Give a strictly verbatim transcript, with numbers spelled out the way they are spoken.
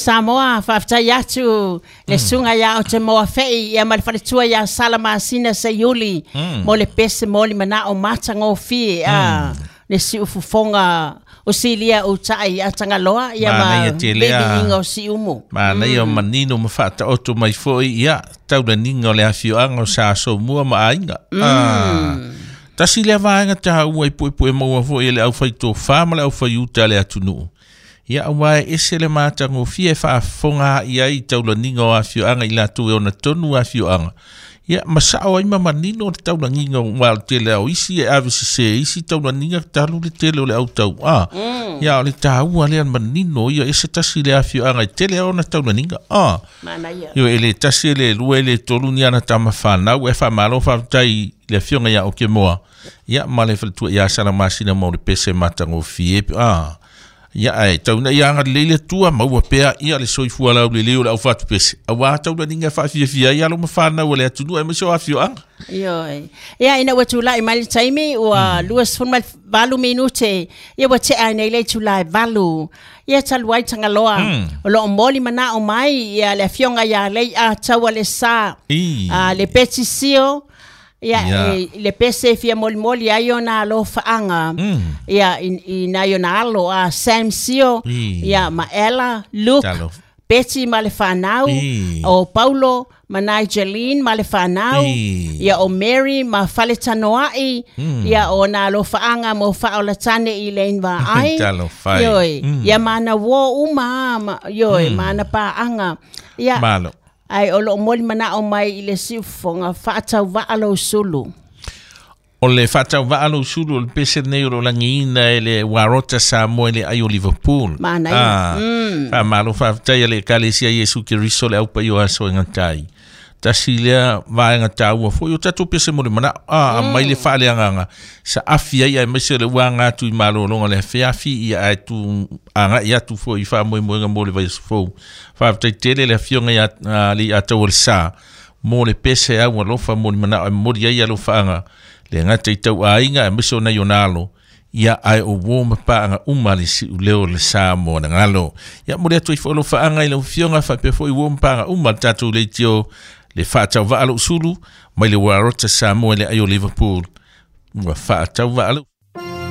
Samoa faafetai atu le susuga ia Otemoa Fei ia ma le faletua ia Sala Masina Seiuli mo le pese mo le manao matagofie a le siufofoga o silia o tai a Tagaloa ia ma Manaia tele a. bebiiga o siumu. Manaia mm. manino ma faataoto mai foi ia taulaniga o le afioaga o Sa Somua ma aiga. Mm. Ah. Tasi lea vaega taua i puepue maua foi e le aufaitofā ma le aufaiuta a le atunuu. Ia aua e ese le matagofie e faafofoga ai ai i taulaniga o afioaga i latou e ona tonu afioaga. Ia ma sao ai ma manino le taulagiga ua o le tele o isi e ave sesē isi taulaniga talu le tele o le autau a. Ia o le taua lea manino ia ese tasi le afioaga e tele ona taulaniga a. Manaia. Io e le tasi e le lua e le tolu ni ana tama whanau e whamalo whaftai le afioga ia Okemoa. Ia ma le faletua ia Sala Masina mo le pese matagofie. Ah. Ia ai tau na ia anga le tua maua pea ia le soifua lau le leo le au fatu pese. Aua tau na ninga whaafiafia ia lo mawhanau le atunuu e maso afioaga. Ioe. Ia ina ua tulai mai le taimi ua lua sefulu ma le valu minute ia ua tea ai nei le itula e valu. Ia talu ai Tagaloa o loo moli manao mai ia le afioga ia lei a taua le sa I. a le Beti Sio ia Ia. e, le pese e fia molimoli ai ona alofaaga ia i, i nai ona alo a Sam Sio I. ia ma Ella Luke Talo. Betty ma le whanau, I. o Paulo ma Nigeline ma le whanau, I. ia o Mary ma Faletanoai, ia o nā alofaanga mo whaolatane i lein vaai. Talofa e. Ioi, Mm. ia mana wo uma, ma, ioi, mana paanga. Ia, Malo. ai o loo moli manao mai i le siufofoga faatauvaa lou sulu. O le faatauvaa lou sulu o le pese nei o lo lagiina e le Warota Samoa i le ai o Liverpool. Manaia. Ah, faamalo faafetai a le ekalesia Iesu Keriso le aupai o aso e gatai. Tasi lea vaega taua foi o tatou pese mo le manao. Ah, mai le faaleagaga sa afi ai aemaise le uaga atu i malologa le afeafi ia ae tu agai atu foi i faamoemoega mo le vaiaso fou. Faafetai tele le afioga ia ah, le Atau o le Sa mo le pese au alofa mo le manao e momoli ai alofaaga le gata i tauaiga aemaise o nai ona alo ia ae o uō ma paaga uma le siuleo o le Samoa na galo. Ia mo le atu ai foi alofaaga i lau afioga faapea foi uō ma paaga uma le tatou leitio le faatauvaa lou sulu mai le Warota Samoa i le ai o Liverpool. Ua faatauvaa lou